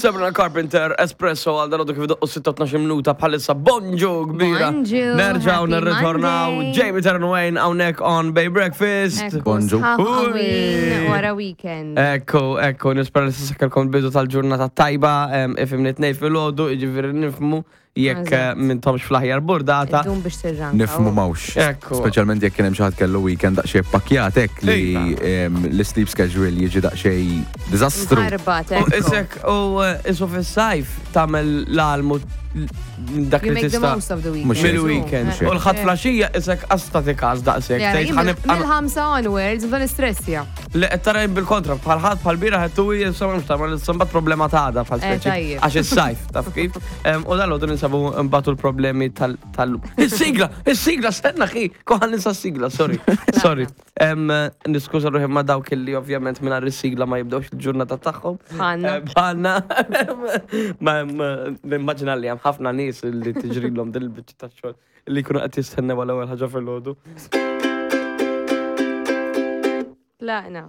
Sabrina Carpenter, Espresso għal dalodu kif doqqu 6-12 minuta bħalissa bonġu kbira. Bonġu, Nerġaw happy nirritornaw Monday. Jamie Taryn Wayne hawnhekk on Bay Breakfast. Ekku, Bonġu. sħab Ui. qawwin wara weekend. Ekku, ekku, nispera li s-sakkalkom bidu tal-ġurnata tajba, em, ifimni tnej fil-ħodu, iġifiri nifmu jekk eh, Eżatt. mintomx fl-aħjar burdata. Dum biex tirranka. Nifmu mawx. Ekku. Speċjalment jekk kien hemm xi ħadd kellu weekend daqsxejn pakkjat hekk li Iva. em, l-sleep schedule jiġi daqsxejn diżastru. Mħarbat, U ekku. isek, u eh, isu fis-sajf tagħmel l-almu dak You li make the tista' most of the weekend. Mhux hekk. mill-weekend. Mhux hekk. U l-ħadd flaxija isek qasta tikas daqshekk. Jara, Tgħid jien ħanibqa' Mill-ħamsa onwards, bda nistressja. Li qed tara jien bil-kontra, bħal ħadd bħal bira ħed tuwi insomma mhux tagħmel insomma problema ta' għada bħal Eh, speċi. tajjeb. Għax is-sajf, taf kif? Em, U dal-għodu ninsabu mbagħtu l-problemi tal- tal Is-sigla, is-sigla, stenna xi, koħan ninsa s-sigla, sorry. Sorry. Em, Niskuża ruħi ma' dawk illi ovvjament mingħajr is-sigla ma jibdewx il-ġurnata tagħhom. Bħalna. Eh, Bħalna. Ma ma- nimmaġina li hemm ħafna nies li tiġrilhom din il-biċċa tax-xogħol li jkunu qed jistennew għal ewwel ħaġa fil-għodu. Tlaqna.